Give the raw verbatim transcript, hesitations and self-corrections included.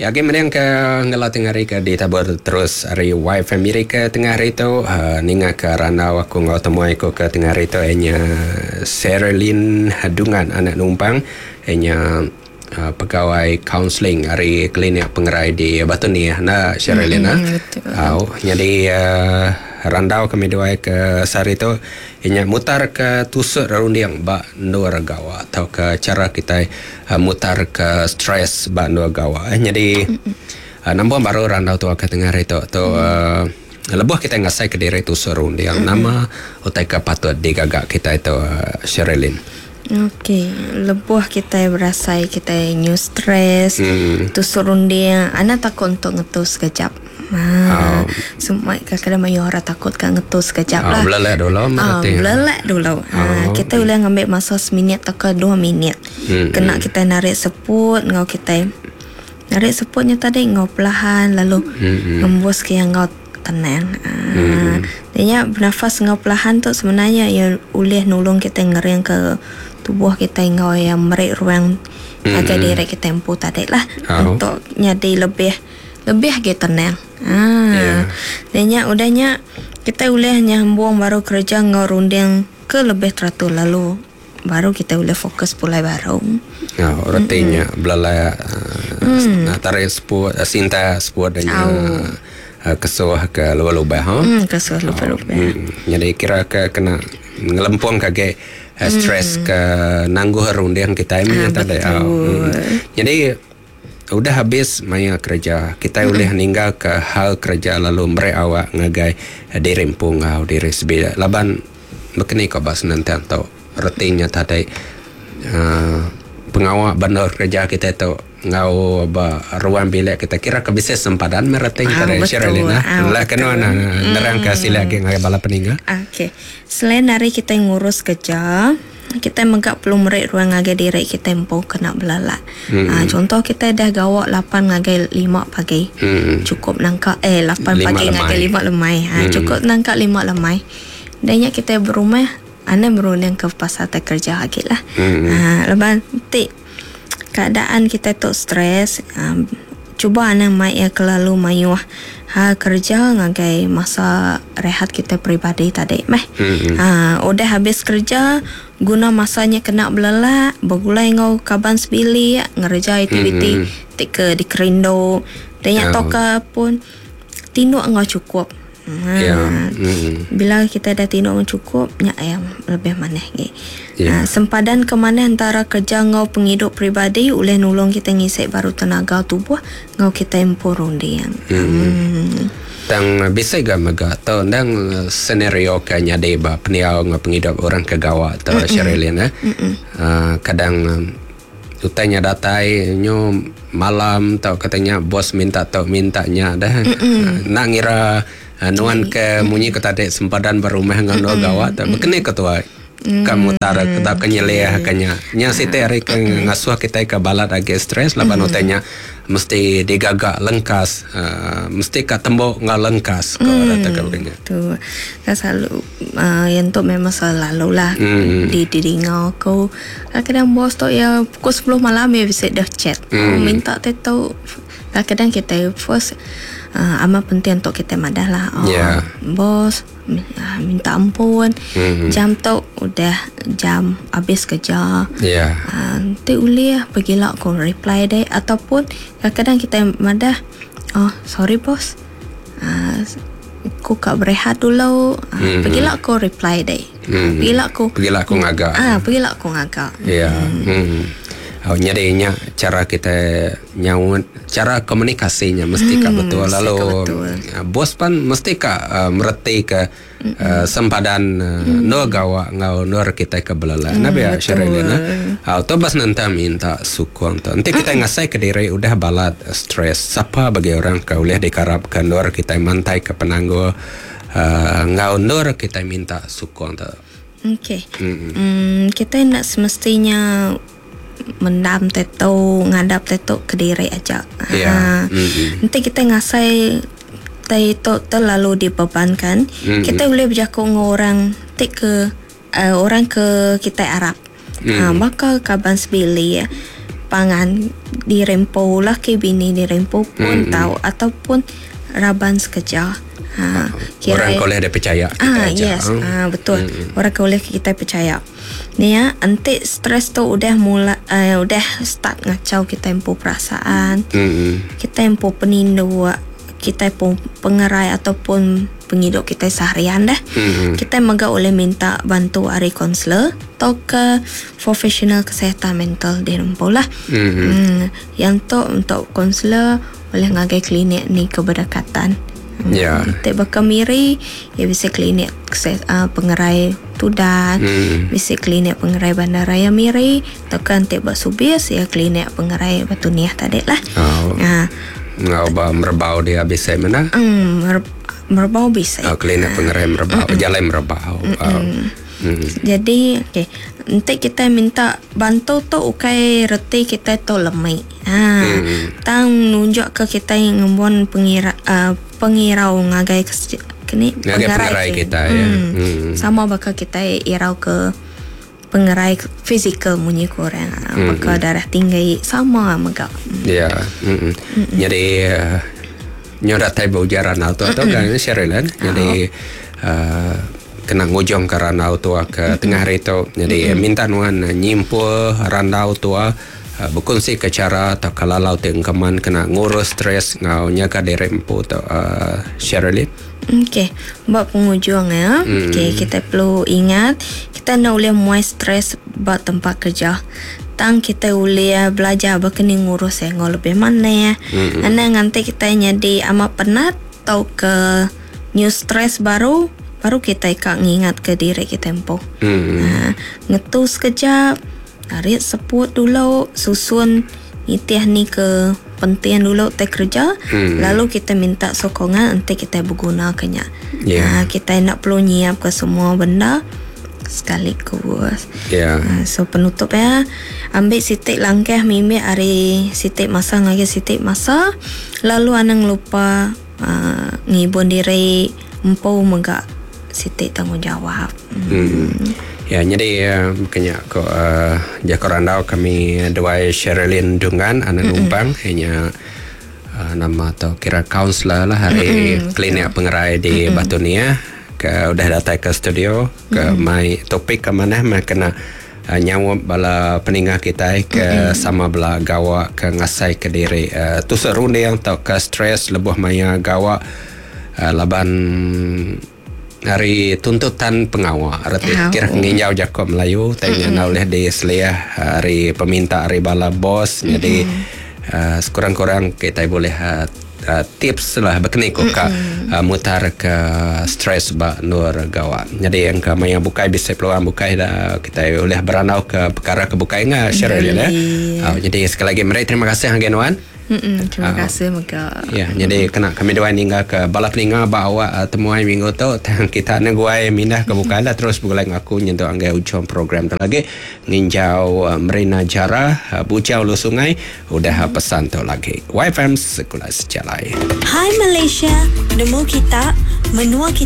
Ya, agi mending ke ngela tengah hari ke ditabur terus hari Y Family ke tengah hari tu uh, ninga ke randau aku ngau temuai aku ke tengah hari tu ianya Sherilyn Dungan anak numpang ianya uh, pegawai kaunseling hari klinik pengerai di Batu Niah na Sherilyn mm, betul. Uh, jadi uh, randau kami dua ke sehari tu ianya mutar ke tusuk runding ba nur gawa atau ke cara kita uh, mutar ke stres ba nur gawa. Eh, jadi uh, nambah baru randau tu ke tengah hari tu tu uh, lebuh kita ngasai ke diri tusuk runding mm-hmm. nama utai ke patut digagak kita itu uh, Sherilyn. Okey, lebuh kita berasai kita new stress, Hmm. tusuk runding, ana takut untuk ngetus sekejap. Ha, Oh. semua kadang-kadang mayu orang takut kan ngetus sekejap Oh, lah. belelek dulu Ah, berarti. belelek dulu. Ha, Oh. kita boleh ngambil masa seminit atau ke dua minit. Hmm, Kena kita narik seput ngau kita. Narik seputnya tadi ngau perlahan lalu Hmm, ngembus ke yang ngau tenang. Ha, hmm. Dia bernafas ngau perlahan tu sebenarnya ia boleh nolong kita ngering ke tubuh kita ngau yang merik ruang hmm. agar diri kita empu tadi lah Oh. untuk jadi lebih lebih ke tenang. Ha. Ya. Dia udahnya kita boleh nyambung baru kerja ngau runding ke lebih teratur lalu baru kita boleh fokus pulai baru. Oh, retinya belelek uh, mm. tarik seput uh, sinta seput dan uh, kesuh ke luar-lubah ha. Hmm, kesuh lupa-lupa. Hmm. Jadi kira ke kena ngelempung kage uh, stres ke nangguh runding kita ini Ah, tadi. betul. Hmm. Jadi udah habis maya kerja kita boleh ninggal ke hal kerja lalu merek awak ngagai eh, diri empung ngau diri sebi laban bekeni ko bas nanti tau retinya tadi uh, pengawak bandar kerja kita tu ngau ba ruang bilik kita kira ke bisa sempadan mereting Ah, tadi betul. Sherilyn ah Ah, lah kena betul. na nerang ke sila lagi ngagai bala peninga. Okey. Selain dari kita ngurus kerja, kita megak perlu merik ruang ngagai diri kita empu kena belalak. Hmm. Ha, contoh kita dah gawak lapan ngagai lima pagi. Hmm. Cukup nangka eh lapan Lima pagi lemai. ngagai lima lemai. Ha, Hmm. cukup nangka lima lemai. Dan kita berumah ana berunding ke pasal tak kerja lagi lah. Hmm. Ha, lepas tik keadaan kita tu stres, um, cuba ana mai ya kelalu mayuh ha kerja ngagai masa rehat kita peribadi tadi meh. Hmm. Ha, udah habis kerja guna masanya kena belelak, bergulai ngau kaban sebilik, ngerja aktiviti Hmm. tik ke dikerindo. Dan yang Ya. toka pun tinduk ngau cukup. Ha, Ya. Hmm. Bila kita dah tinduk ngau cukup, nyak yang lebih maneh ge. Ya. Ha, sempadan ke mana antara kerja ngau penghidup peribadi oleh nolong kita ngisik baru tenaga tubuh ngau kita empu runding. Hmm. Hmm. Tang bisa ga mega tau ndang senario ke nyade ba peniau ngau penghidup orang ke gawa tau Sherilyn eh. Uh, kadang um, utainya datai nyo malam tau katanya bos minta tau mintanya dah. Uh, nak ngira uh, nuan ke munyi ke tadi sempadan berumah ngau no gawa tau bekene ketua kamu tara kita kenyeliah kenya nya site hari ke ngasuh kita ke balat agi stres laban utainya mesti digagak lengkas uh, mesti ka tembok ngau lengkas ko rata ke bekenya. Tu kan selalu uh, yang tu memang selalu lah Hmm. di di dengar aku. Kadang-kadang bos tu ya pukul sepuluh malam ya bisa dah chat. Hmm. Oh, minta tu Kadang-kadang kita first uh, amat penting untuk kita madah lah. Oh, Ya. Bos mi- ah, minta ampun. Hmm. Jam tu udah jam habis kerja. Ya. Ah, nanti boleh pergilah aku reply deh ataupun kadang-kadang kita madah oh sorry bos ah, aku kat berehat dulu ah, Hmm. pergilah aku reply deh Hmm. pergilah aku Pergilah aku ngagak. ah pergilah aku ngagak Ya. Hmm. Oh, nyadinya cara kita nyaut, cara komunikasinya mesti ka Hmm, betul. mesti ka Lalu betul. uh, bos pan mesti ka uh, mereti ke uh, sempadan uh, mm. nur gawa ngau nur kita ke belala. Mm, Nabi ya Sherilyn. Ah, tu bas nanti minta sukong tu. Nanti kita ngasai ke diri udah balat uh, stres. Siapa bagi orang ke boleh dikarapkan nur kita mantai ke penangguh uh, ngau nur kita minta sukong tu. Okey. Hmm, kita nak semestinya mendam teto, ngadap teto ke diri aja. Ya. Ha. Mm-mm. Nanti kita ngasai tai tu terlalu dibebankan, Mm-mm. kita boleh berjakuk dengan orang tik ke uh, orang ke kita Arab. Mm. Ha, maka kaban sebili ya. Pangan dirempo lah ke bini dirempo pun mm-hmm. tahu ataupun raban sekerja. Ha, kira orang boleh dia percaya kita ah, aja. Yes, hmm. ah, betul. Mm-hmm. Orang boleh kita percaya. Ni ya, enti stres tu udah mula uh, udah start ngacau kita empu perasaan. Mm-hmm. Kita empu penindu, kita pun pengerai ataupun penghidup kita seharian dah. Mm-hmm. Kita mega boleh minta bantu ari kaunselor atau ke profesional kesihatan mental di rempu lah. Mm-hmm. Hmm, yang tu untuk kaunselor boleh ngagai klinik ni keberdekatan. Ya. Yeah. Kita bakal miri ya bisa klinik uh, pengerai Tudan, mm. bisa klinik pengerai Bandaraya Miri, atau kan tik bak Subis ya klinik pengerai Batu Niah tadi lah. Oh. Ha. Ngau ba merbau dia bisa mana? Hmm, mer- merbau bisa. Oh, klinik pengerai merbau, mm-mm. Jalan merbau. Oh. Mm. Jadi, okey, nanti kita minta bantu tu ukai reti kita tu lemai. Ha, mm. Tang nunjuk ke kita yang ngembuan pengira uh, pengirau ngagai ke kini ngagai pengerai kita ya. Hmm. Hmm. Sama bakal kita irau ke pengerai fizikal munyi kurang. Hmm. Bakal darah tinggi sama mega. Hmm. Ya. Hmm. Hmm. Jadi uh, nyoda tai ujaran auto tu kan Sherilyn. Jadi uh, kena ngujung ke randau tua ke mm-hmm. tengah hari tu. Jadi mm-hmm. minta nuan nyimpul randau tua uh, berkongsi ke cara atau kalalau te engkeman kena ngurus stres ngau nyaga diri empu tu uh, Sherilyn. Okey, buat penghujung ya. Mm. Okey, kita perlu ingat kita nak boleh muai stres buat tempat kerja. Tang kita boleh belajar berkena ngurus yang lebih mana ya. Mm-hmm. Ana nanti kita jadi amat penat atau ke new stress baru baru kita ikak ngingat ke diri kita empu. Hmm. Ha, ngetu sekejap, tarik seput dulu, susun nitih ni ke penting dulu teh kerja, hmm. lalu kita minta sokongan nanti kita berguna kenya. Yeah. Ha, kita nak perlu nyiap ke semua benda sekaligus. Yeah. Ha, so penutup ya, ambil sitik langkah mimik hari sitik masa ngagi sitik masa, lalu anang lupa uh, ngibun diri empu megak sitik tanggungjawab. Hmm. Hmm. Ya, jadi uh, kena ko uh, jako randau kami dua Sherilyn Dungan anak numpang hanya uh, nama atau kira kaunselor lah hari mm-hmm. klinik pengerai di mm-hmm. Batu Nia ke udah datang ke studio ke mm-hmm. mai topik ke mana mai kena uh, nyawa bala peningah kita ke mm-hmm. sama bala gawak ke ngasai ke diri uh, tu serunding atau ke stres lebuh maya gawak uh, laban hari tuntutan pengawal reti oh. kira nginjau Jakob Melayu tanya mm-hmm. oleh di seliah hari peminta hari bala bos mm-hmm. jadi uh, sekurang-kurang kita boleh uh, uh, tips lah berkeni ko ka uh, mutar ke stres ba nur gawa. Jadi yang ke maya bukai bisa peluang bukai dah kita boleh beranau ke perkara ke bukai ngah share ya. Uh, jadi sekali lagi meri terima kasih hanggen wan. Mm-mm, terima uh, kasih mega. Ya, jadi kena kami dua ninggal ke bala peninga bawa uh, temuai minggu tu kita nak guai mindah ke bukai lah terus bergulai ngaku nyentuh anggai ujung program tu lagi nginjau uh, Merina Jara uh, Bujau Lu Sungai udah uh, pesan tu lagi. Y F M Sekolah Sejalai. Hai Malaysia, nemu kita, menua kita.